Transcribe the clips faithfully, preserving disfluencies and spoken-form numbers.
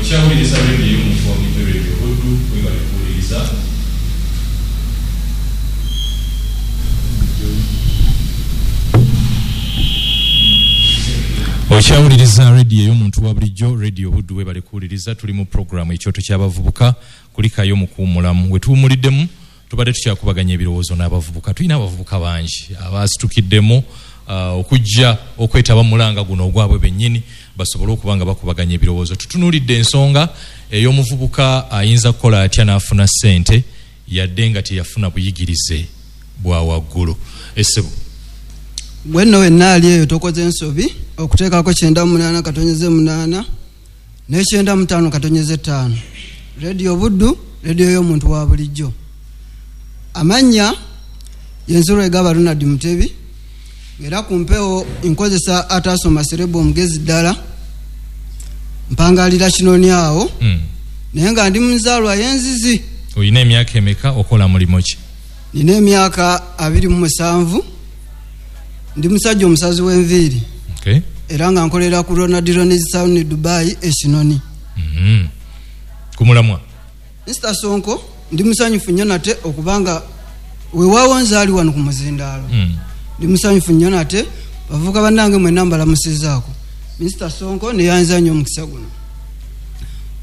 Okyawuliriza radio y'omuntu wa bulijjo, Radio Buddu. Webale kuwuliriza. Okyawuliriza radio y'omuntu wa bulijjo, Radio Buddu. Webale kuwuliriza. Tuli mu programu Ekyoto ky'Abavubuka, kulikayo mu kuwummulamu. We tuwummuliddemu tubadde tukyakubaganya ebirowoozo n'abavubuka. Tulina abavubuka bangi abasitukiddemu uh, okujja okwetaba mu mulanga guno ogwabwe bennyini, basobole okuba nga bakubaganya ebirowoozo. Tutunuulidde ensonga ey'omuvubuka ayinza kukola atya n'afuna ssente yadde nga teyafuna buyigirize bwa waggulu. Essebo gwe nno wenna ali eyo tokoze ensobi okuteekako kyenda mu munaana katonyeze munaana n'ekyenda mu ttaano katonyeze ttaano. Radio Buddu, radio y'omuntu wa bulijjo. Amannya ye Egaba Ronald Mutebi, era ku mpewo nkozesa atasoma serebo omugezi ddala, mpangalira Kinoni awo. Mm. Naye nga ndi muzaalwa y'enzizi. Olina emyaka emeka, okola mulimu ki? Nina emyaka abiri mu musanvu, ndi musajja omusazi w'enviiri. Okay. Era nga nkolera ku Ronald Ronis Salon Dubai e Kinoni. Mm. Kumulamwa Mister Sonko, ndi musanyufu nnyo nate okubanga weewaawo nzaali wano ku muzindaalo. Mm. Ndi musanyufu nnyo nate, bavubuka bannange mwenna mbalamusizaako. Mister Sonko neyanza nnyo omukisa guno.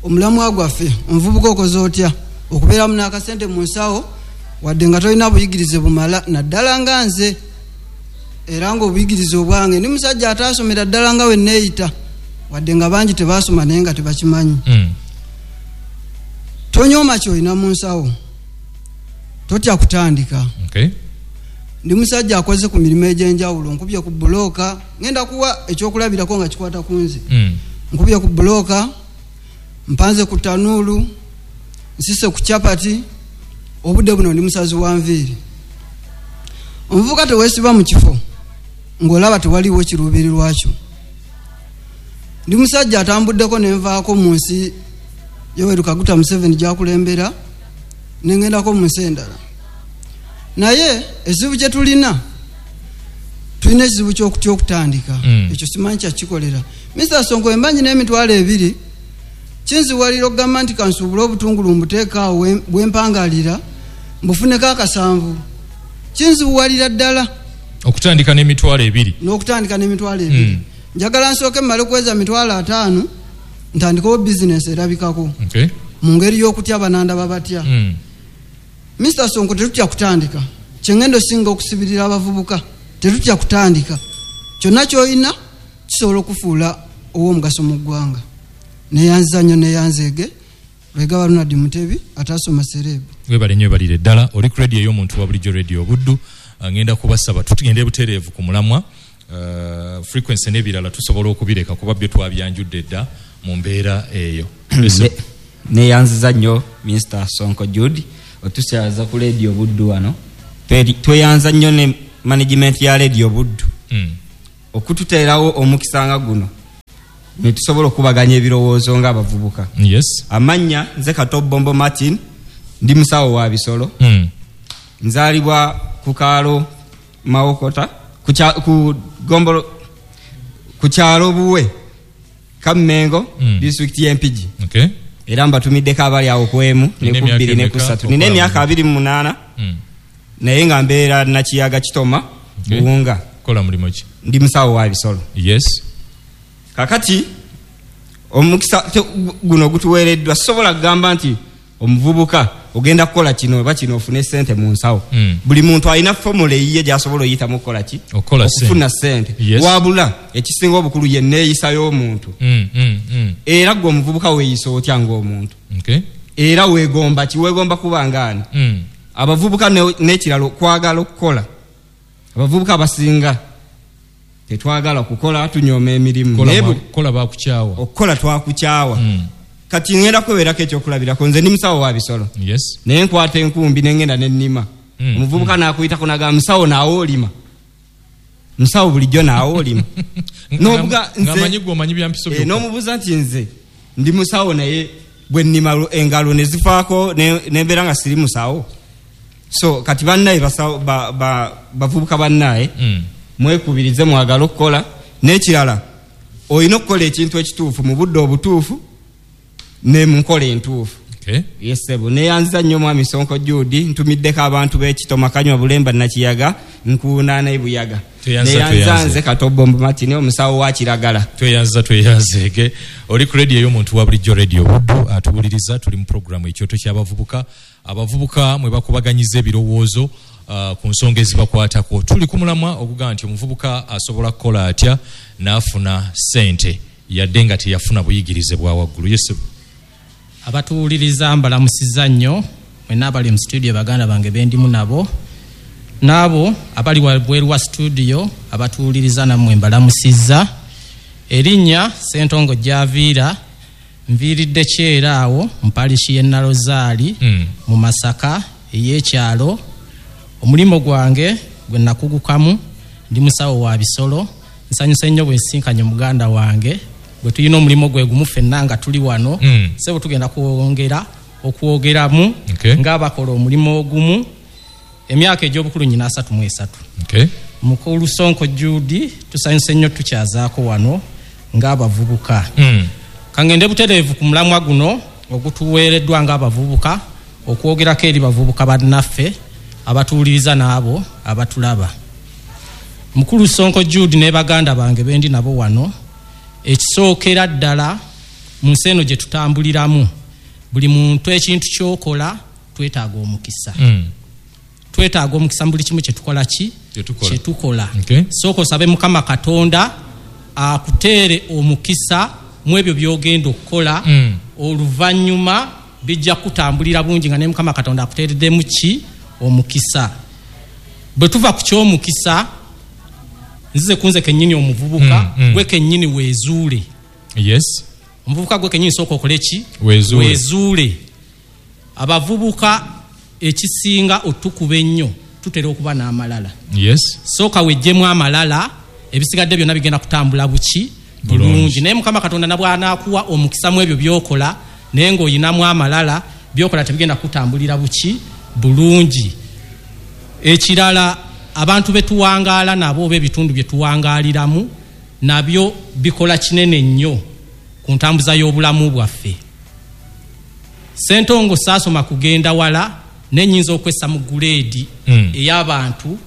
Omulamwa gwaffe, omuvubuka okoze otya okubeeramu n'akasente mu nsawo wadde nga tolina buyigirize bumala, naddala nga nze, era ng'obuyigirize obwange ndi musajja ataasomera ddala nga we neeyita, wadde nga bangi tebaasoma naye nga tebakimanyi. Mm. Tonyooma ky'olina mu nsawo, totya kutandika. Okay. Ndi musajja akoze ku mirimu egy'enjawulo, nkubye ku bulooka, ngenda kuwa ekyokulabirako nga kikwata ku nze. Mm. Nkubye ku bulooka, mpanze ku tanuulu, nsise ku chapati, obudde buno ndi musazi wa nviiri. Omuvubuka teweesiba mu kifo ng'olaba tewaliwo kiruubirirwa kyo. Ndi musajja atambuddeko ne nvaako mu nsi Yoweri Kaguta Museveni gy'akulembera, ne ngendako mu nsi endala. Naye ekizibu kye tulina, tulina ekizibu ky'okutya okutandika. Mm. Ekyo simanyi kyakikolera. Mister Sonko, emba nnyina emitwalo ebiri, kinziwalira okugamba nti kansuubule obutungulu mbuteeka awo we-, bwe mpangalira, mbufuneko akasanvu. Kinziwalira ddala. Okutandika n'emitwalo ebiri. N'okutandika n'emitwalo ebiri. Mm. Njagala nsooke mmale kuweza mitwalo ataano, ntandikewo bizinesi erabikako. Okay. Mu ngeri y'okutya banandaba batya. Mm. Mister Sonko, tetutya kutandika. Kye ngenda osinga okusibirira abavubuka, tetutya kutandika. Kyonna ky'olina kisobola okufuula ow'omugaso mu ggwanga. Neyanziza nnyo neyanzeege, Lwegaba Ronald Mutebi atasoma serebu. Webale nnyo, webalire ddala. Oli ku radio ey'omuntu wa bulijjo, Radio Buddu. Ngenda kubasaba tugende butereevu ku mulamwa. Uh, frequency n'ebirala tusobola okubireka kuba byo twabyanjudde dda mu mbeera eyo. Ne-, neyanziza nnyo Mister Sonko Jude otusyaza ku Radio Buddu wano. Tweri-, tweyanza nnyo ne management ya Radio Buddu. Mm. Okututeerawo omukisa nga guno ne tusobola okubaganya ebirowoozo ng'abavubuka. Yes. Amannya nze Kato Bombo Martin, ndi musawo wa bisolo. Mm. Nzaalibwa ku kaalo Mawokota, ku kya-, ku gombolo, ku kyalo Buwe, Kammengo, Mm. disitulikiti y'e Mpigi. Okay. Era mbatumiddeko abali awo ku emu, ne Nina ku emyaka bbiri, ne ku emeka? ssatu. Nina emyaka abiri mu munaana. Mm. Naye nga mbeera Nakiyaga Kitoma, Okay. Buwunga. Kola mulimu ki? Ndi musawo wa bisolo. Yes. Kakati omukisa te-, guno gutuweereddwa, sobola kugamba nti omuvubuka ogenda kukola kino oba kino ofune ssente mu nsawo. Mm. Buli muntu alina formula eyiye gy'asobola oyitamu okukola ki? Okukola ssente. Okufuna ssente. Yes. Wabula ekisinga obukulu ye nneeyisa y'omuntu. Mm, mm, mm. Era ggwe omuvubuka weeyisa otya ng'omuntu? Okay. Era weegomba ki? Weegomba kuba ng'ani? Mm. Abavubuka ne-, n'ekirala okwagala okukola. Abavubuka abasinga tetwagala kukola, tunyooma emirimu. Kola Naye ba- buli kola bakukyawa. Okukola twakukyawa. Mm. Kati ngenda kwewerako ekyokulabirako, nze ndi musawo wa bisolo. Yes. Naye nkwata enkumbi ne ngenda ne nnima. Mm. Omuvubuka n'akuyitako n'agamba, musawo naawe olima. Musawo bulijjo naawe olima. Nga- N'obuga nga nze amanyi gwe omanyi bya mpiso Eh, byokka. n'omubuuza nti nze ndi musawo naye bwe nnima lu-, engalo ne zifaako ne-, ne mbeera nga siri musawo. So kati bannaye basawo, ba-, ba-, bavubuka bannaye, Mm. mwekubirize mwagale okukola. N'ekirala olina okukola ekintu ekituufu mu budde obutuufu Ne mu nkola entuufu. Okay. Yes sebo, neyanziza nnyo mwami Sonko Jude, ntumiddeko abantu b'Ekitoma, Kanywa, Bulemba, Nakiyaga, Nkuuna ne Buyaga. Neyanza nze Katobombo Martin, omusawo wa Kiragala. Tweyanza tweyanzeege. Oli ku radio y'omuntu wa bulijjo, Radio Buddu, atuwuliriza. Tuli mu programu Ekyoto ky'Abavubuka. Abavubuka mwe bakubaganyiza ebirowoozo uh, ku nsonga ezibakwatako. Tuli ku mulamwa ogugamba nti omuvubuka asobola kukola atya n'afuna ssente yadde nga teyafuna buyigirize bwa waggulu. Yes. Abatuwuliriza mbalamusizza nnyo mwenna abali mu studio, baganda bange bendimu nabo, n'abo abali wabweru wa studio abatuwuliriza nammwe mbalamusizza. Erinnya Ssentongo Javiira, nviiridde Kyera awo mu parishi y'e Nalozaali Mm. mu Masaka ey'ekyalo. Omulimu gwange gwe nakugukamu, ndi musawo wa bisolo. Nsanyuse nnyo bwe nsinkanye muganda wange bwe tulina omulimu gwe gumu ffenna nga tuli wano. Mm. Sebo tugenda kwongera okwogeramu Okay. ng'abakola omulimu ogumu. Emyaka egy'obukulu nyina asatu mu esatu. Okay. Mukulu Sonko Jude, tusanyuse nnyo tukyazaako wano ng'abavubuka. Mm. Kangende butereevu ku mulamwa guno ogutuweereddwa ng'abavubuka okwogerako eri bavubuka bannaffe abatuwuliriza n'abo abatulaba. Mukulu Sonko Jude ne baganda bange bendi nabo wano, ekisookera ddala mu nsi eno gye tutambuliramu, buli muntu ekintu ky'okola twetaaga omukisa. Mm. Twetaaga omukisa mu buli kimu kye tukola ki? Kye tukola. Kye tukola. Okay. Sooka osabe Mukama Katonda akuteere omukisa mu ebyo by'ogenda okukola. Mm. Oluvannyuma bijja kutambulira bulungi nga ne Mukama Katonda akuteereddemu ki? Omukisa. Bwe tuva ku ky'omukisa, nzize kunze kennyini omuvubuka, Mm, mm. gwe kennyini weezuule. Yes. Omuvubuka gwe kennyini sooka okole ki? Weezuule. Weezuule. Abavubuka ekisinga otukuba ennyo tutera okuba n'amalala. Yes. Sooka weggyemu amalala, ebisigadde byonna bigenda kutambula buki? Bulungi. Bulungi. Naye Mukama Katonda nabw'anaakuwa omukisa mu ebyo by'okola, naye ng'oyinamu amalala, by'okola tebigenda kutambulira buki? Bulungi. Ekirala, abantu be tuwangaala nabo oba ebitundu bye tuwangaaliramu nabyo bikola kinene nnyo ku ntambuza y'obulamu bwaffe. Ssentongo saasoma kugenda wala, nennyinza okwessa mu guleedi Mm. ey'abantu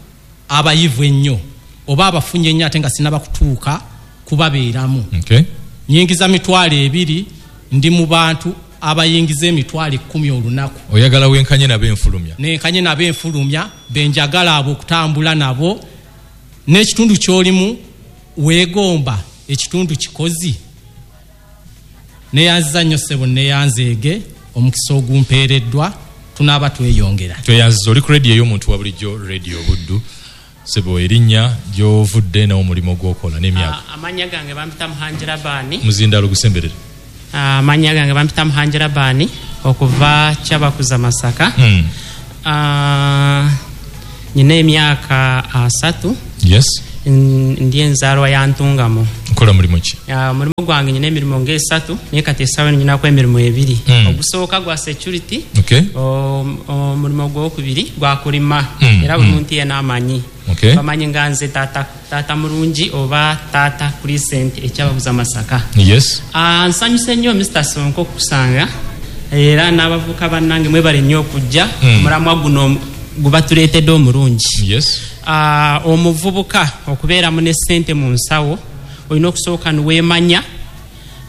abayivu ennyo oba abafunye ennyo ate nga sinnaba kutuuka kubabeeramu. Okay. Nyingiza mitwalo ebiri, ndi mu bantu abayingiza emitwalo ekkumi olunaku. Oyagala wenkanye nabo enfulumya. Nenkanye nabo enfulumya, benjagala abo okutambula nabo. N'ekitundu ky'olimu weegomba ekitundu kikozi. Neyanziza nnyo ssebo, neyanzeege omukisa ogumpeereddwa, tunaaba tweyongera. Tweyanziza. Oli ku radio ey'omuntu wa bulijjo, Radio Buddu. Ssebo, erinnya, gy'ovudde n'omulimu gw'okola n'emyaka. Ah, amannya gange bampita Muhangira Baani. Muzindaalo gusemberere. Ah, amannya gange bampita Muhangira Baani okuva Kyabakuza Masaka. Mm. Ah, nyina emyaka asatu. Yes. N- ndi enzaalwa ya Ntungamo. Nkola mulimu ki? Ah, omulimu gwange nyina emirimu ng'esatu, naye kati essaawa eno nyinako emirimu ebiri. Mm. Ogusooka gwa security. Okay. Om- omulimu gwokubiri gwa kulima. Mm, Era buli mm. muntu yenna amanyi. Okay. Bamanyi nga nze taata, taata mulungi oba taata Crescent ekyabaguza Masaka. Yes. Ah, nsanyuse nnyo Mister Sonko okukusanga, era n'abavubuka bannange mwebale nnyo okujja. Mm. Omulamwa guno gubatuleetedde omulungi. Yes. Ah, omuvubuka okubeeramu ne ssente mu nsawo olina okusooka niweemanya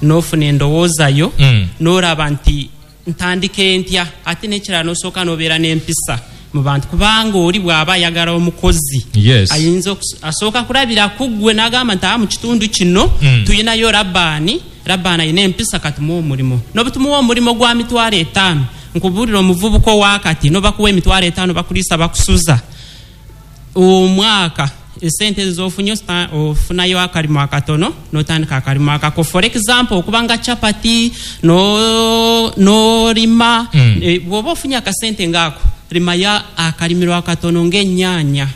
n'ofuna endowooza yo, Mm. n'olaba nti ntandike ntya, ate n'ekirala n'osooka n'obeera n'empisa mu bantu, kubanga oli bw'aba ayagala omukozi Yes. ayinza okus-, asooka kulabira ku ggwe n'agamba nti, aa, mu kitundu kino Mm. tuyinayo Labbaani, Labbaani alina empisa, katumuwe omulimu. N'obutumuwa omulimu gwa mitwalo etaano, nkubuulira omuvubuka owakati n'obakuwa emitwalo etaano bakuliisa bakusuza omwaka, esente ezo z'ofunye osita-, ofunayo akalimu akatono n'otandika akalimu akako. For example, okubanga chapati no-, n'olima. Mm. E, bw'oba ofunye akasente ng'ako, limayo akalimiro akatono ng'ennyaanya,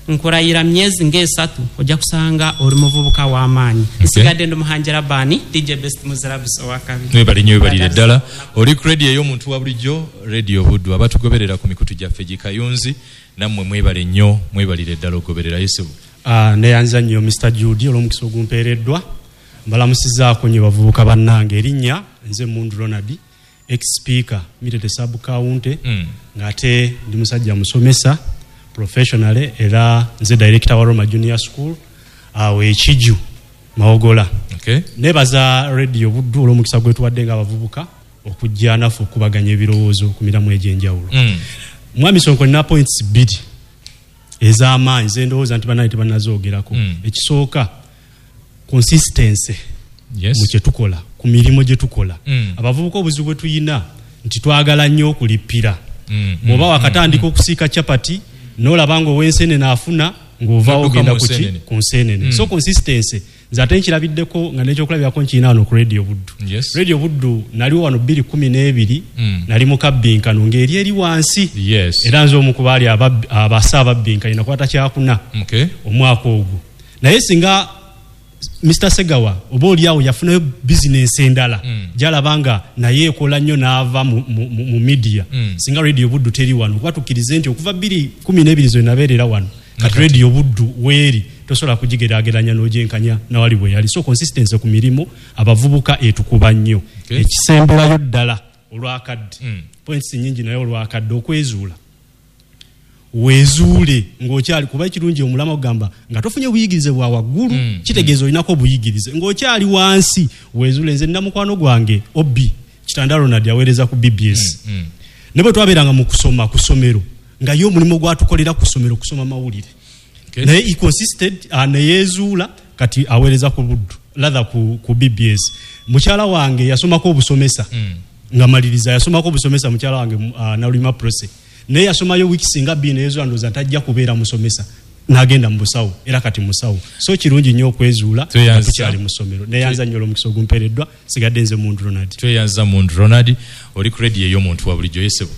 nkulayira myezi ng'esatu ojja kusanga oli muvubuka w'amaanyi. Okay. Nsigadde ndi Muhangira Baani, D J Best Muzirabs owakabi. Mwebale nnyo, webalire ddala. Oli ku radio ey'omuntu wa bulijjo, Radio Buddu. Abatugoberera ku mikutu gyaffe gikayunzi, nammwe mwebale nnyo, mwebalire ddala okugoberera. Yesu. Ah, neyanza nnyo Mister Jude olw'omukisa ogumpeereddwa. Mbalamusizzaako nnyo bavubuka bannange. Erinnya Nze Mundu Ronald, ex-speaker Mitete sub county, Mm. ng'ate ndi musajja musomesa professionally, era nze director wa Roma Junior School awo ekiju Mawogola. Okay. Nebaza Radio Buddu olw'omukisa gwetuwadde ng'abavubuka okujja naffe okubaganya ebirowoozo ku mirimu egy'enjawulo. Mm. Mwami Sonko, nina points bbiri ez'amaanyi ze ndowooza nti bannange tebannazoogerako. Mm. Ekisooka, consistency Yes. mu kye tukola, ku mirimu gye tukola. Mm. Abavubuka obuzibu bwe tuyina nti twagala nnyo okulippira. Mm, Bw'oba mm, wakatandika okusiika chapati n'olaba ng'ow'ensenene afuna, ng'ovaawo N'odduka ogenda mu ku ki? nsenene. Ku nsenene. Mm. So consistency nze ate nkirabiddeko nga n'ekyokulabirako nkirina wano ku Radio Buddu. Yes. Radio Buddu naliwo wano bbiri kumi n'ebiri, Mm. nali mu kabbinkano ng'eri eri wansi. Yes. Era nze omu ku baali ababbi- abasa ababbinkanye, nakwata kyakuna Okay. omwaka ogwo. Naye singa Mister Segawa oba oli awo yafunayo bizinensi endala Mm. gy'alaba nga naye ekola nnyo n'ava mu, mu, mu, mu media, Mm. singa Radio Buddu teri wano, kuba tukkirize nti okuva bbiri kumi n'ebiri ze nabeerera wano, kati Radio Buddu weeri tosobola kugigeraageranya n'ogyenkanya nawali bwe yali. So consistency ku mirimu abavubuka etukuba nnyo. Okay. Ekisemberayo ddala olwakadde, Mm. points nnyingi naye olwakadde, okwezuula. Weezuule ng'okyali, kuba ekirungi omulama ogamba nga tofunye buyigirize bwa waggulu, Mm, kitegeeza olinako obuyigirize ng'okyali wansi, weezuule. Nze nina mukwano gwange Obi Kitanda Ronald, aweereza ku B B S. Mm, mm. Ne bwe twabeeranga mu kusoma ku ssomero, nga ye omulimu gwatukolera ku ssomero kusoma mawulire. Okay. Naye he consisted, uh, ne yeezuula, kati aweereza ku Buddu, rather ku, ku B B S. Mukyala wange yasomako obusomesa. Mm. Nga maliriza yasomako obusomesa, mukyala wange, uh, Nalulima Prose. Naye yasomayo wiiki singa bbiri, neyezuula ndowooza ntajja kubeera musomesa, n'agenda mu busawo, era kati musawo. So kirungi nnyo okwezuula Tweyanza. nga tukyali mu ssomero. Neyanza nnyo olw'omukisa ogumpeereddwa. Sigadde nze Mundu Ronald. Tweyanza Mundu Ronald. Oli ku radio ey'omuntu wa bulijjo. Yesebo,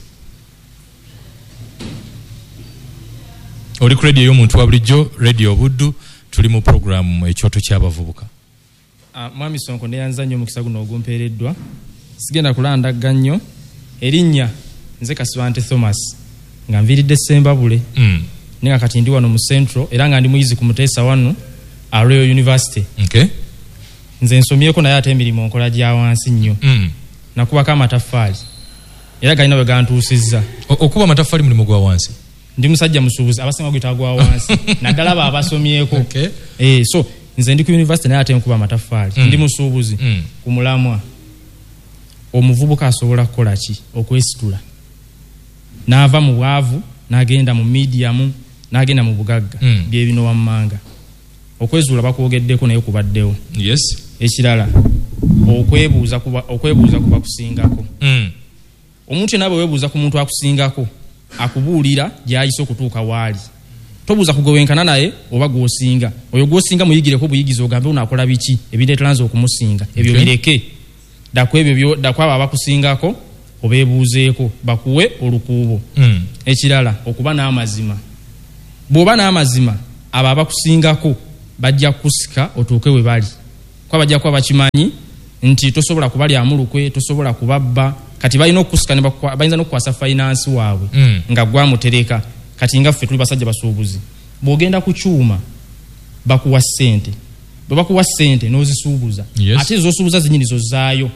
oli ku radio ey'omuntu wa bulijjo, Radio Buddu, tuli mu programu Ekyoto ky'Abavubuka. Ah, Mwami Sonko, neyanza nnyo omukisa guno ogumpeereddwa. Sigenda kulandagga nnyo. Erinnya nze Kasibante Thomas, nga nviiridde Ssembabule. Mm. Naye nga kati ndi wano mu Central, era nga ndi muyizi ku Muteesa wano a Royal University. Okay. Nze nsomyeko, naye ate emirimu nkola gya wansi nnyo. Mm. Nakubako amataffaali era galina we gantuusizza. O-, okuba amataffaali mulimu gwa wansi? Ndi musajja musuubuzi, abasinga guyita gwa wansi naddala abo abasomyeko. Okay. Eh, so nze ndi ku university naye ate nkuba amataffaali. Mm. Ndi musuubuzi. Mm. Ku mulamwa, omuvubuka asobola kukola ki okwesitula n'ava mu bwavu n'agenda mu medium n'agenda mu bugagga? Mm. Bye bino wammanga. Okwezuula bakwogeddeko, naye kubaddewo. Yes. Ekirala, okwebuuza kuba, okwebuuza kuba kusingako. Mm. Omuntu yenna bwe weebuuza ku muntu akusingako, akubuulira gy'ayise okutuuka waali. Tobuuza kugowenkana naye oba gw'osinga. Oyo gw'osinga muyigireko buyigizi, ogambe onaakola biki ebireetera nze okumusinga. Ebyo Okay. bireke. Ddaku ebyo byo, ddaku abo abakusingako obeebuuzeeko bakuwe olukuubo. Mm. Ekirala, okuba n'amazima. Bw'oba n'amazima, abo abakusingako bajja kukusika otuuke we bali. Kuba bajja kuba bakimanyi nti tosobola kubalyamu lukwe, tosobola kubabba. Kati balina okukusika ne bakwa-, bayinza n'okukwasa finance waabwe Mm. nga gwamutereka. Kati nga ffe tuli basajja basuubuzi, bw'ogenda ku kyuma bakuwa ssente, bwe bakuwa ssente n'ozisuubuza. Yes. Ate z'osuubuza zennyini z'ozzaayo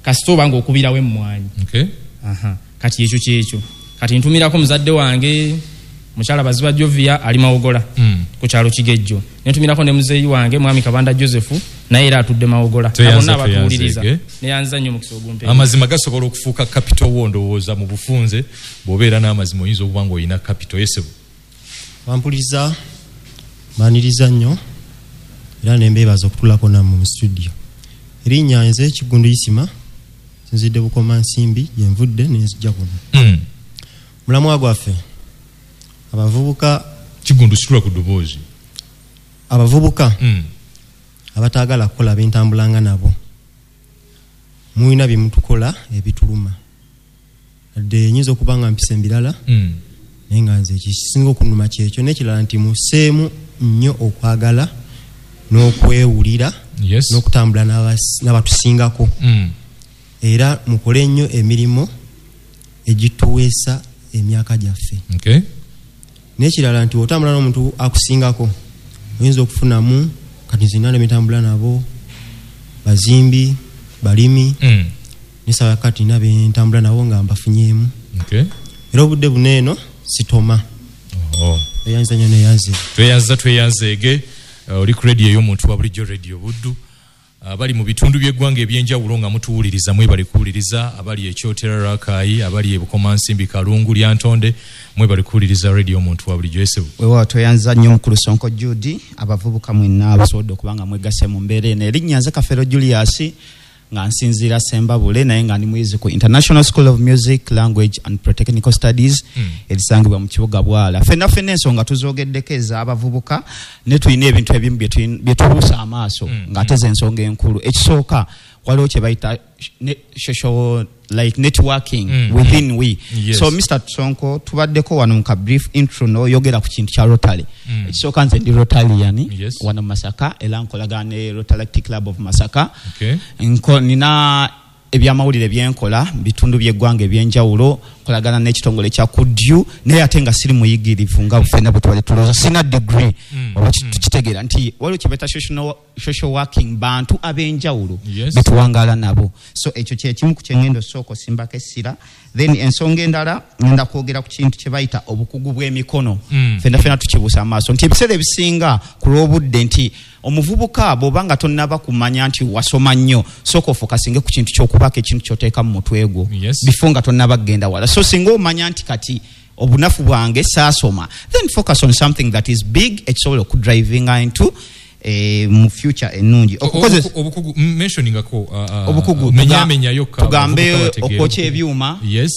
kasita oba ng'okubirawo emmwanyi. Okay. Aha. Kati ekyo kyekyo. Kati ntumirako muzadde wange mukyala Baziba Jovia ali Mawogola Mm. ku kyalo Kigejjo. Ne ntumirako ne muzeeyi wange mwami Kabanda Joseph, naye era atudde Mawogola. Tweyanza, Abo bonna abatuwuliriza. tweyanze, Neyanza nnyo omukisa ogumpeera. Amazima gasobola okufuuka capital wo, ndowooza mu bufunze bw'obeera n'amazima oyinza okuba ng'olina capital. Yesebo. Bampuliriza, mbaniriza nnyo era ne mbeebaza okutuulako nammwe mu studio. Erinnya nze Kiggundu Isima, nsinzidde Bukomansimbi gye nvudde ne nzija kuno. Mm. Mulamwa gwaffe abavubuka. Kiggundu, situla ku ddoboozi. Abavubuka Mm. abataagala kukola bentambulanga nabo, mulina bye mutukola ebituluma. Wadde nyinza okuba nga mpisa embirala, Mm. naye nga nze ekisinga okunnuma kyekyo. N'ekirala nti musseemu nnyo okwagala n'okwewulira Yes. n'okutambula n'abas-, n'abatusingako. Mm. Era mukole nnyo emirimu egituweesa emyaka gyaffe. Okay. N'ekirala nti otambula n'omuntu akusingako oyinza okufunamu. Kati nze nina ne betambula nabo bazimbi, Balimi. Mm. Nisaba kati nina bentambula nabo nga mbafunyeemu. Okay. Era obudde buno eno sitoma. Oh. Eyanza nnyo neyanze. Tweyanza tweyanzeege. Uh, oli ku radio ey'omuntu wa bulijjo, Radio Buddu. Abali mu bitundu by'eggwanga ebyenjawulo nga mutuwuliriza, mwebale kuwuliriza. Abali e Kyotera Rakai, abali e Bukomansimbi, Kalungu, Lyantonde, mwebale kuwuliriza radio omuntu wa bulijjo. Esebu weewaawo, tweyanza nnyo mukulu Sonko Jude, abavubuka mwenna abasobodde okuba nga mwegasse mu mbeera eno. Erinnya nze Kafero Julius, nga nsinziira Sembabule, naye nga ndi muyizi ku International School of Music, Language and Polytechnical Studies Mm. erisangibwa mu kibuga Bwala. Ffenna ffenna ensonga tuzoogeddeko ez'abavubuka, ne tulina ebintu ebimu bye tulina- bye tubuusa amaaso Mm. ng'ate ze ensonga enkulu. Ekisooka, waliwo kye bayita ne- social like networking Mm. within we. Yes. So Mister Sonko, tubaddeko wano mu ka brief intro n'oyogera ku kintu kya Rotary. Mm. Ekisooka, nze ndi Rotarian Yes. wano mu Masaka, era nkolagana ne Rotaract Club of Masaka. Okay. Nko, nina ebyamawulire byenkola mu bitundu by'eggwanga ebyenjawulo, nkolagana n'ekitongole kya Kudyu, naye ate nga siri muyigirivu nga ffenna bwe tubadde tulowooza, sina degree. Mm. Oba ki- tukitegeera nti waliwo kye bayita social, social working, bantu ab'enjawulo Yes. betuwangaala nabo. So ekyo kyekimu ku kyengenda osooka osimbako essira. Then ensonga endala, ngenda kwogera ku kintu kye bayita obukugu bw'emikono. Mm. Ffenna ffenna tukibuusa amaaso nti ebiseera ebisinga ku lw'obudde nti omuvubuka bw'oba nga tonnaba kumanya nti wasoma nnyo, sooka ofokasinge ku kintu ky'okubaako ekintu ky'oteeka mu mutwe gwo Yes. bifo nga tonnaba kugenda wala. So singa omanya nti kati obunafu bwange saasoma, then focus on something that is big ekisobola okudrivinga into eh, mu future ennungi. Okukozesa Obukugu, mentioningako uh, uh, obukugu, menyamenyayo ka tugambe abavubuka bategeere. okwokya ebyuma, Yes.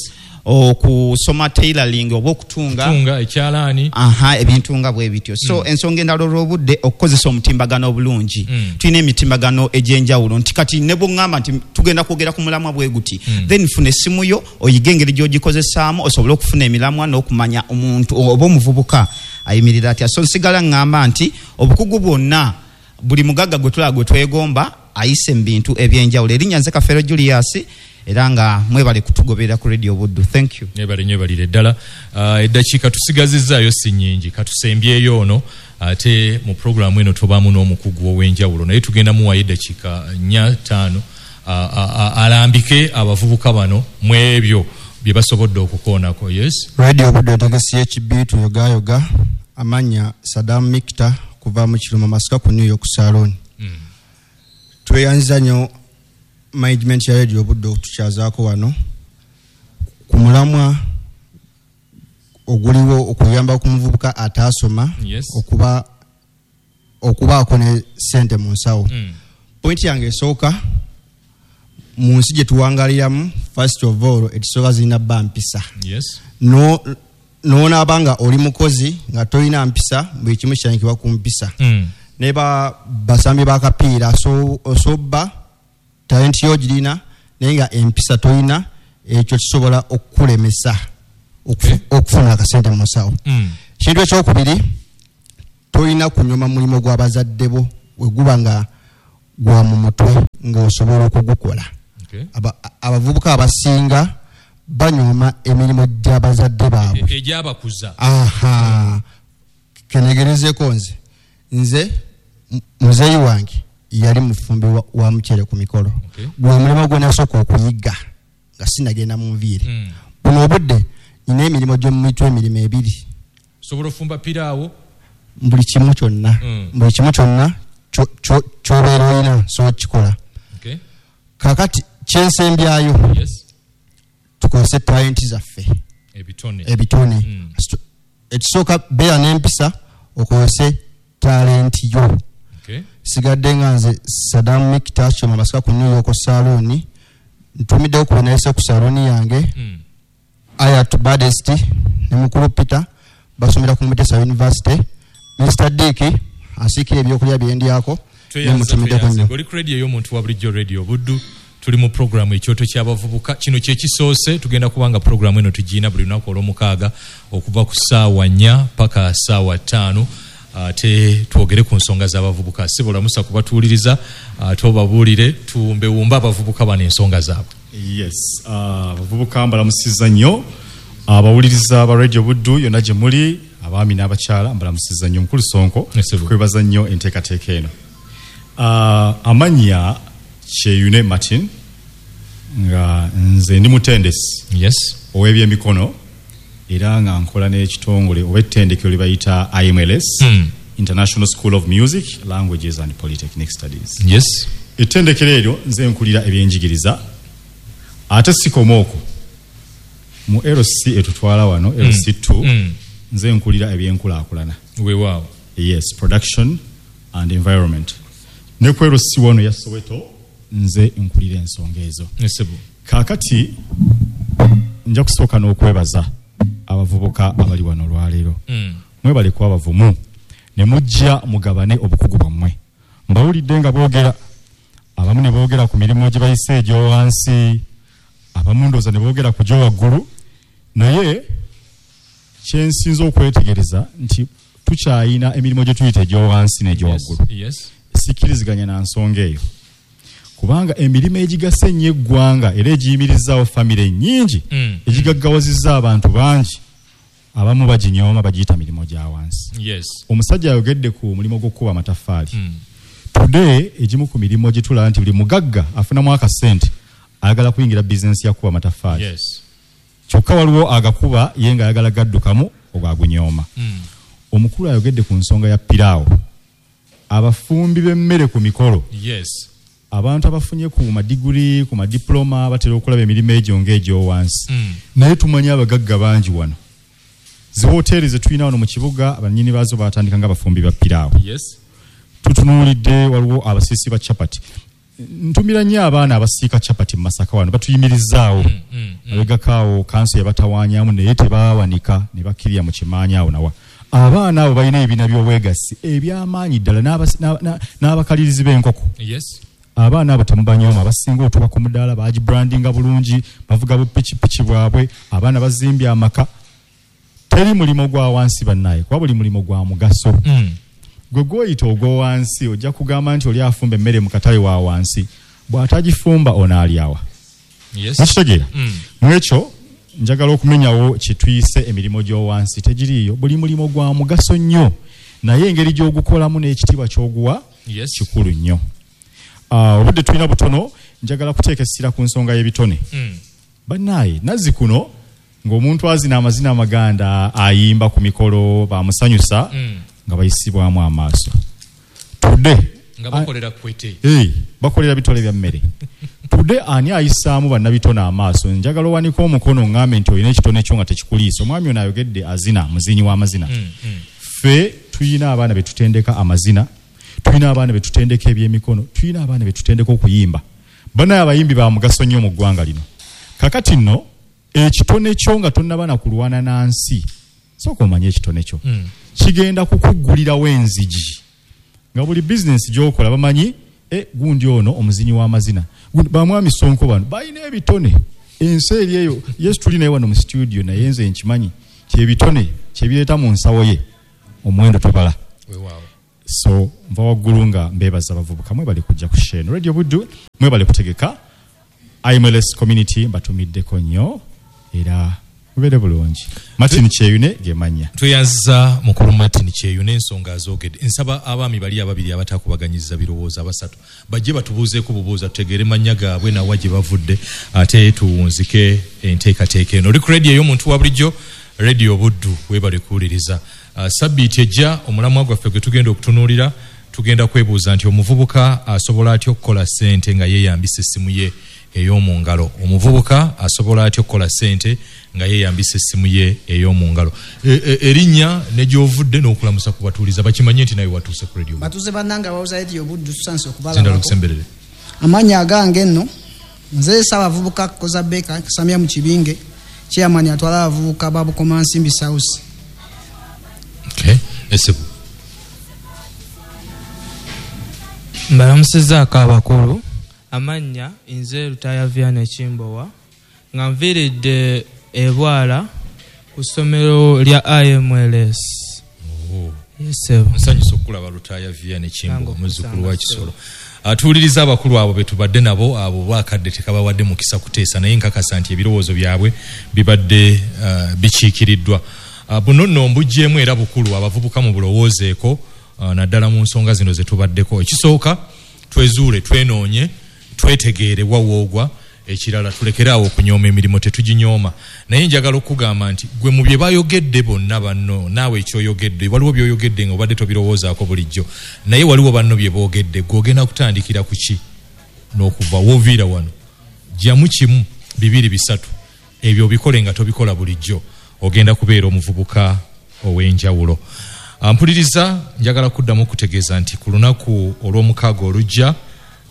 okusoma tailoring oba okutunga, Tunga ekyalaani. Aha, ebintu nga bwe bityo. So mm. ensonga endala, olw'obudde, okukozesa omutimbagano obulungi. Mm. Tulina emitimbagano egy'enjawulo nti kati ne bw'oŋŋamba nti tugenda kwogera ku mulamwa bwe guti, Mm. then funa essimu yo, oyige engeri gy'ogikozesaamu osobole okufuna emilamwa n'okumanya omuntu oba omuvubuka ayimirira atya. So nsigala ŋŋamba nti obukugu bwonna, buli mugagga gwe tulaba gwe twegomba ayise mu bintu ebyenjawulo. Erinnya nze Kafeero Julius, era nga mwebale kutugoberera ku Radio Buddu. Thank you. Ebale nnyo, ebalire ddala. Uh, eddakiika tusigazizaayo si nnyingi, katusembyeyo ono, ate mu puroguramu eno tobaamu n'omukugu ow'enjawulo, naye tugenda muwayo eddakiika nnya ttaano alambike abavubuka bano mu ebyo bye basobodde okukoonako. Yes. Radio Buddu entegesi y'ekibi tuyogayoga. Amannya Sadam Mikita, kuva mu Kiruma Masaka ku New York Salon. mm. Tweyanziza nnyo management ya Radio Buddu okutukyazaako wano ku mulamwa oguliwo okuyamba ku muvubuka ataasoma Yes. okuba okubaako ne sente mu nsawo. Mm. Pointi yange esooka, mu nsi gye tuwangaliramu, first of all, ekisooka zirina bba mpisa. Yes. No- n'onaaba nga oli mukozi nga tolina mpisa, buli kimu kitandikibwa ku mpisa. Mm. Ne ba basambi bakapiira, osobba talenti yo girina, naye nga empisa tolina, ekyo kisobola okukulemesa okufu- okufuna akasente mu nsawo. Mm. Ekintu ekyokubiri, tolina kunyoma mulimu gw'abazadde bo we guba nga gwa mu mutwe ng'osobola okugukola. Okay. Aba- abavubuka abasinga banyooma emirimu gy'abazadde baabwe E- egyabakuza. Aha, kenegerezeko nze nze m- muzeeyi wange yali mufumbi wa, wa muceere ku mikolo. Okay. Gwe mulimu gwe nasooka okuyiga nga sinagenda mu nviiri. Mm. Buno obudde nina emirimu gy'omumitwe, emirimu ebiri. Osobola ofumba piraawo. Buli kimu kyonna, Mm. buli kimu kyonna kyo- kyo- ky'obeera olina sobola kukikola. Okay. Kakati kyensembyayo, Yes. tukozese talenti zaffe, ebitone. Ebitone. Mm. Ekisooka, beera n'empisa, okozese talenti yo. Okay. Sigadde nga nze Sadam Mikita Kyoma Masaka ku New York Saloon. Ntumiddewo ku benayise ku salooni yange, Mm. Ayat Badest ne mukulu Peter, basomera ku Mutesa University. Mister Dick asiikira ebyokulya byendyako, nemutumiddeko nnyo. Oli ku radio ey'omuntu wa bulijjo, Radio Buddu. Tuli mu programu Ekyoto ky'Abavubuka. Kino kyekisoose, tugenda kubanga programu eno tugiina buli lunaku olwomukaaga okuva ku ssaawa nnya paka ssaawa ttaano, ate twogere ku nsonga z'abavubuka. Sibolamusa kubatuwuliriza, ate obabuulire tumbewumbe abavubuka bano ensonga zaabwe. Yes, ah, abavubuka mbalamusiza nnyo, abawuliriza ba Radio Buddu yonna gye muli, abaami n'abakyala, mbalamusiza nnyo. Mukulu Sonko, Yes, sir. tukwebaza nnyo enteekateeka eno. Ah, amannya Kyeyune Martin, nga nze ndi mutendesi yes ow'ebyemikono era nga nkola n'ekitongole oba ettendekero lye bayita I M L S, mm. International School of Music, Languages and Polytechnic Studies. Yes. Ettendekero eryo nze nkulira ebyenjigiriza, ate sikoma okwo mu L C etutwala wano L C two, mm. nze nkulira ebyenkulaakulana. Weewaawo. Yes, production and environment. Ne ku L C wano ya Soweto nze nkulira ensonga ezo. Yes, kaakati nja kusooka n'okwebaza abavubuka abali wano olwaleero. Mm. Mwebale kuba bavumu ne mujja mugabane obukugu bwammwe. Mbawulidde nga boogera, abamu ne boogera ku mirimu gye bayise egy'owansi, abamu ndowooza ne boogera ku gy'owaggulu, naye kyensinza okwetegereza nti tukyayina emirimu gye tuyita egy'owansi n'egy'owaggulu. Yes, yes. Sikkiriziganya na nsonga eyo, kubanga emirimu egigasa ennyo eggwanga era egiyimirizaawo famire nnyingi, mm. egigaggawazizza abantu bangi, abamu baginyooma bagiyita mirimu gya wansi. Yes. Omusajja ayogedde ku mulimu gw'okukuba amataffaali. Mm. Today egimu ku mirimu gye tulaba nti buli mugagga afunamu akasente ayagala kuyingira bizinensi ya kukuba amataffaali. Yes. Kyokka waliwo agakuba ye ng'ayagala gaddukamu ogwagunyooma. Mm. Omukulu ayogedde ku nsonga ya piraawo, abafumbi b'emmere ku mikolo. Yes. Abantu abafunye ku madiguri, ku madiploma batera okulaba emirimu egyo ng'egyowansi. Mm. Naye tumanyi abagagga bangi wano. Zi hoteri ze tulina wano mu kibuga abannyini baazo baatandika nga bafumbi ba piraawo. Yes. Tutunuulidde waliwo abasiisi ba chapati. Ntumira nnyo abaana abasiika chapati mu Masaka wano batuyimirizaawo. Mm, mm, mm. Abegakaawo kanso yabatawaanyaamu naye tebaawanika ne bakkirira mu kimaanyi awo nawa. Abaana abo balina ebibiina by'obwegassi eby'amaanyi ddala n'abakalirizi b'enkoko. Yes. Abaana abo temubanyooma, abasinga otuba ku mudaala bagibrandinga bulungi, bavuga bupikipiki bwabwe, abaana bazimbye amaka. Teri mulimu gwa wansi bannaye, kuba buli mulimu gwa mugaso. Mm. Gwe gwoyita ogw'owansi ojja kugamba nti oli afumba emmere mu katale wa wansi, bw'atagifumba onaalyawa. Yes. Mukitegeera? Mm. Mwekyo njagala okumenyawo kye tuyise emirimu gy'owansi tegiriiyo. Buli mulimu gwa mugaso nnyo, naye engeri gy'ogukolamu n'ekitiibwa ky'oguwa yes. kikulu nnyo. Uh, obudde tulina butono, njagala kuteeka essira ku nsonga y'ebitone. Mm. Bannaaye nazzi kuno ng'omuntu azina amazina amaganda ayimba ku mikolo bamusanyusa, mm. nga bayisibwamu amaaso. Today nga bakolera kwete. Hey, bakolera bitole bya mmere. Today ani ayisaamu bannabitone amaaso? Njagala owanike omukono ngambe nti olina ekitone kyo nga tekikuliisa. Omwami ono ayogedde azina, muzinyi w'amazina. Mm, mm. Ffe tuyina abaana be tutendeka amazina, tulina abaana be tutendeka ebyemikono, tulina abaana be tutendeka okuyimba. Banaye abayimbi ba mugaso nnyo mu ggwanga lino. Kakati nno ekitone kyo nga tonnaba na kulwana na nsi, sooka omanye ekitone kyo. Mm. Kigenda kukuggulirawo enzigi nga buli bizinensi gy'okola bamanyi e, gundi ono omuzinyi w'amazina, bamwami Sonko bano balina ebitone. Ensi eri eyo Yesu tuli naye wano mu studio, naye nze nkimanyi kyebitone kyebireeta mu nsawo ye omuwendo tobala. Weewaawo. So nva waggulu nga mbeebaza abavubuka, mwebale kujja ku Sheno Radio Buddu, mwebale kutegeka I M L S community, mbatumiddeko nnyo era mubeere bulungi. Martin Kyeyune gemanya. Tweyanziza mukulu Martin Kyeyune ensonga azoogedde. Nsaba abaami bali ababiri abatakubaganyiza birowoozo abasatu bajje batubuuzeeko bubuuza tutegeere mannya gaabwe nawa gye bavudde, ate tuwunzike enteekateeka eno. Oli ku radio ey'omuntu wa bulijjo, Radio Buddu, weebale kuwuliriza. Uh, sabbiiti ejja omulamwa gwaffe gwe tugenda okutunuulira, tugenda kwebuuza nti omuvubuka asobola atya okukola ssente nga yeeyambisa essimu ye ey'omu ngalo. Omuvubuka asobola atya okukola ssente nga yeeyambisa essimu ye ey'omu ngalo. Erinnya ne gy'ovudde n'okulamusa ku batuuliza bakimanye nti nawe watuuse ku radio. Batuuse bannange abawuza Radio Buddu, tusanse okubalabako. Zindalo kusemberere. Amannya agange nno nze Ssaabavubuka Koza Baker Samia mu Kibinge, chairman atwala abavubuka ba Bukomansimbi South. Okay. Esebu. Mbalamusizzaako abakulu. Amannya nze Lutaaya Vianney Kimbowa, nga nviiridde ebwala ku ssomero lya I M L S. Oh. Yes, sir. Nsanyusa okulaba Lutaaya Vianney Kimbowa, muzzukulu wa Kisolo. Atuwuliriza abakulu abo be tubadde nabo, abo bakadde tekabawadde mukisa kuteesa, naye nkakasa nti ebirowoozo byabwe bibadde uh, bikiikiriddwa. Uh, buno nno mbuggyemu era bukulu abavubuka mu bulowoozeeko, uh, naddala mu nsonga zino ze tubaddeko. Ekisooka twezuule, twenoonye, Twetegeere wa woogwa. Ekirala, tulekere awo okunyooma emirimu, tetuginyooma, naye njagala okugamba nti gwe mu bye bayogedde bonna banno, naawe ekyoyogedde, waliwo byoyogedde nga obadde tobirowoozaako bulijjo, naye waliwo banno bye boogedde. Gwe ogenda kutandikira ku ki n'okuva wooviira wano? Jjamu kimu, bibiri, bisatu, ebyo obikole nga tobikola bulijjo, ogenda kubeera omuvubuka ow'enjawulo. Mpuliriza, njagala kuddamu okutegeeza nti ku lunaku olw'omukaaga olujja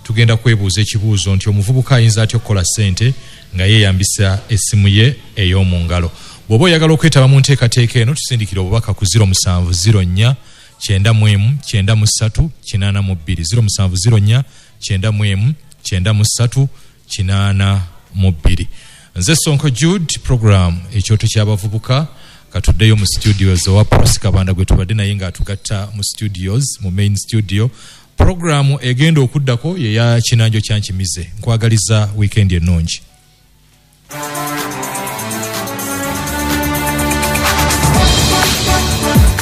tugenda kwebuuza ekibuuzo nti omuvubuka ayinza atya okukola ssente nga yeeyambisa essimu ye ey'omu ngalo. Bw'oba oyagala okwetaba mu nteekateeka eno, tusindikire obubaka ku zero musanvu zero nnya kyenda mu emu kyenda mu ssatu kinaana mu bbiri, zero musanvu zero nnya kyenda mu emu kyenda mu ssatu kinaana mu bbiri. Nze Sonko Jude, program Ekyoto ky'Abavubuka. Katuddeyo mu studios owa Prosi Kabanda gwe tubadde naye ng'atugatta mu studios, mu main studio. Programu egenda okuddako yeya Kinanjo Kyankimize. Nkwagaliza weekend ennungi.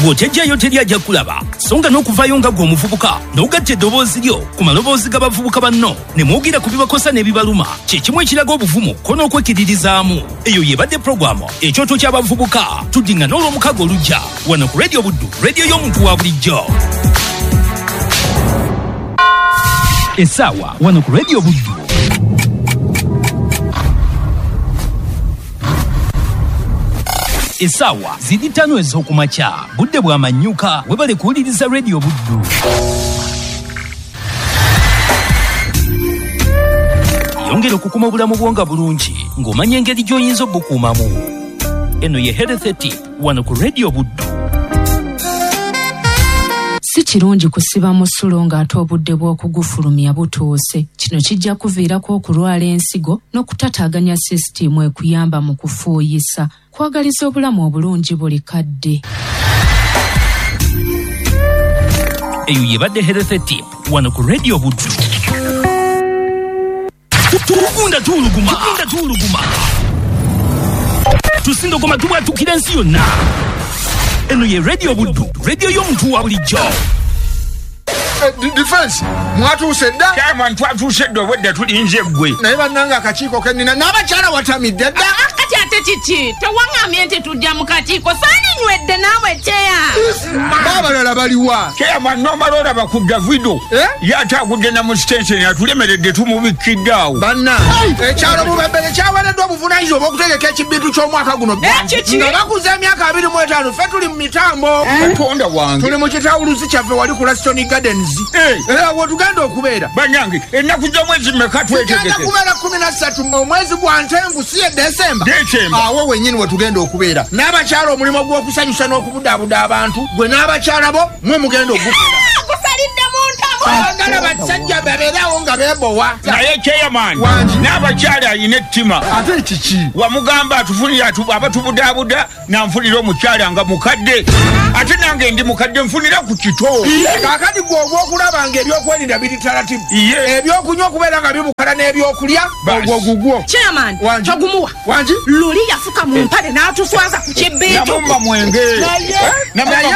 Bw'otejjayo teri ajja kulaba, so nga n'okuvaayo nga gwe omuvubuka n'ogatta eddoboozi lyo ku maloboozi g'abavubuka banno ne mwogera ku bibakosa n'ebibaluma, kye kimu ekiraga obuvumu ko n'okwekiririzaamu. Eyo yebadde puroguramu Ekyoto ky'Abavubuka. Tuddiŋŋana olw'omukaaga olujja wano ku Radio Buddu, rediyo y'omuntu wa bulijjo. Essaawa wano ku Radio Buddu essaawa ziri ttaano ez'okumakya, budde bwa manyuka. Webale kuwuliriza Radio Buddu. Yongera okukuma obulamu bwo nga bulungi ng'omanya engeri gy'oyinza obukuumamu. Eno ye Health Tip wano ku Radio Buddu. Si kirungi kusiba musulo ng'ate obudde bw'okugufulumya butuuse. Kino kijja kuviirako okulwala ensigo n'okutataaganya sisitiimu ekuyamba mu kufuuyisa. Kwagaliza obulamu obulungi buli kadde. Eyo yebadde Health Tip wano ku Radio Buddu. Tugunda tuwuluguma, tugunda tuwuluguma, tusindogoma, tubwatukira ensi yonna. Eno ye Radio Buddu, radio y'omuntu wa bulijjo. Defense, mwatuuse dda? Chairman, twatuuse dda, obwedda tulinze ggwe. Naye bannange, akakiiko kennina n'abakyala watamidde dda. Kati ate kiki? Tewaŋŋambye nti tujja mu kakiiko? Saalinywedde naawe kyeya. Baabalala baliwa? Chairman, nomala olaba ku Davido, ye ate agudde na mu sitenseni, atulemeredde, tumubikkidde awo. Banna, ekyalo Bubembere kyaweereddwa obuvunaanyizibwa obw'okutegeka ekibintu ky'omwaka guno nga bakuza emyaka abiri mu etaano. Ffe tuli mu mitambo. Katonda wange! Tuli mu kitawuluzi kyaffe wali ku Laston Gardens, era wetugenda okubeera. Bannange, ennaku z'omwezi mmeka? Tugenda Twetegeke. kubeera kumi na ssatu omwezi gwa Ntenvu, si ye Desemba? Desemba. Awo wennyini wetugenda okubeera n'abakyala. Omulimu gw'okusanyusa n'okubudaabuda abantu, gwe n'abakyala bo mwe mugenda ogukola. Gusalidde mu ntamu. Baagala basajja babeerawo nga beebowa. Naye chairman, n'abakyala alina ettima. Ate kiki? Wamugamba atufunire abatubudaabuda, nanfunira omukyala nga mukadde, ate nange ndi mukadde, nfunira ku kito. Kaakati gwe ogw'okulaba nga ebyokwerinda biri taratibu, ebyokunywa okubeera nga bibukala n'ebyokulya, ogwo gugwo. Chairman, togumuwa. Wangi? Luli yafuka mu mpale n'atuswaza ku kibintu. Namumma mwenge. Naye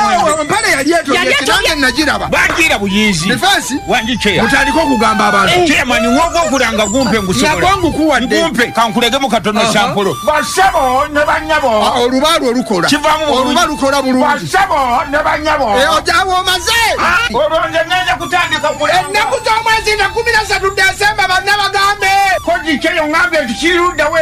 empale yali etobye, nange nagiraba. Bagira buyizi. Defense. Wangi, chair? Mutandike okugamba abantu. Chairman, wogwokulanga gumpe ngusobola. Nagwo ngukuwadde. Ngumpe kankulegemu katono. Aha. Sampolo, basebo ne banyabo. Oluba lwo lukola. Kivaamu bulungi. Oluba lukola bulungi. Basebo ne banyabo. Ojawo omaze. Olwo nze ngenda kutandika kulanga. Ennaku z'omwezi nga kumi na ssatu Desemba, banna bagambe. Koji kyeyo ŋŋambye nti kiruddawo.